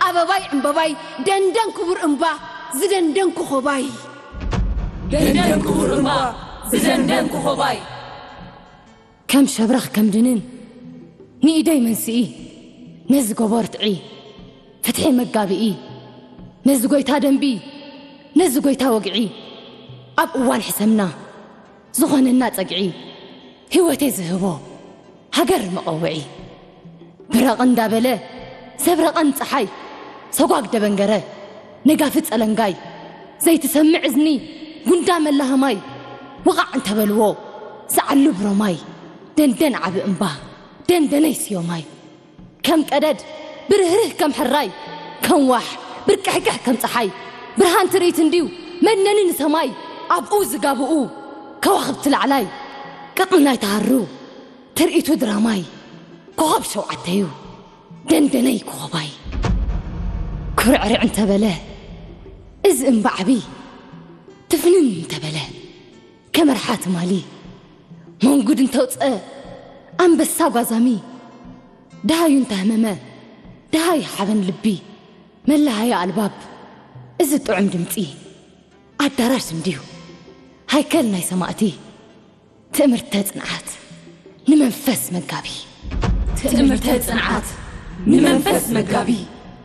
ኣበባይ ዕምበባይ ደንደን ክቡር እምባ ዝደንደን ኮኾባይ። ደንደን ክቡር እምባ ዝደንደን ኮኾባይ። ከም ሸብረኽ ከም ድንን ንኢደይ መንስኢ ነዚ ጎቦ ርትዒ ፍትሒ መጋብኢ ነዚ ጎይታ ደንቢ ነዚ ጎይታ ወግዒ ኣብ እዋን ሕሰምና ዝኾነና ጸግዒ ህይወተይ ዝህቦ ሃገር መቐውዒ ብረቕ እንዳበለ ዘብረቐን ጸሓይ ሰጓግ ደበንገረ ነጋፊ ጸለንጋይ ዘይትሰምዕ እዝኒ ጉንዳ መላህማይ ወቓዕ እንተበልዎ ዝዓሉ ብሮማይ ደንደን ዓቢ እምባ ደንደነይ ስዮማይ ከም ቀደድ ብርህርህ ከም ሕራይ ከም ዋሕ ብርቅሕቅሕ ከም ጸሓይ ብርሃን ትርኢት እንድዩ መነኒ ንሰማይ ኣብኡ ዝጋብኡ ከዋኽብቲ ላዕላይ ቅጥኒ ናይ ተሃሩ ትርኢቱ ድራማይ ኮኸብ ሸውዓተዩ ደንደነይ ኮኸባይ ኩርዕርዕ እንተበለ እዚ እምባ ዓቢ ትፍንን እንተበለ ከመርሓ ትማሊ መንጉድ እንተውፀ ኣንበሳ ጓዛሚ ደሃዩ እንተህመመ ደሃይ ሓበን ልቢ መለሃያ ኣልባብ እዚ ጥዑም ድምፂ ኣዳራሽ እንድዩ ሃይከል ናይ ሰማእቲ ትእምርተ ጽንዓት ንመንፈስ መጋቢ ትእምርተ ጽንዓት ንመንፈስ መጋቢ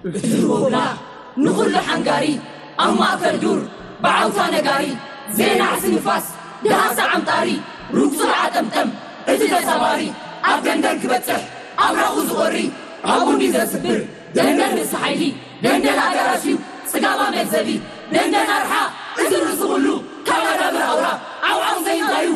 እቲ ሩቦብላ ንኹሉ ሓንጋሪ ኣብ ማእከል ዱር ብዓውታ ነጋሪ ዜና ዕሲ ንፋስ ደሃሳ ዓምጣሪ ሩጉጹ ዓጠምጠም እቲ ተሳባሪ ኣብ ደንደን ክበጽሕ ኣብራቑ ዝቖሪ ኣብኡ እንዲ ዘስብር ደንደን ርእሲ ሓይሊ ደንደን ኣዳራሽ እዩ ጽጋባ መግዘቢ ደንደን ኣርሓ እዚ ርእሲ ኩሉ ካብ ኣዳብር ኣውራ ዓውዓው ዘይንታዩ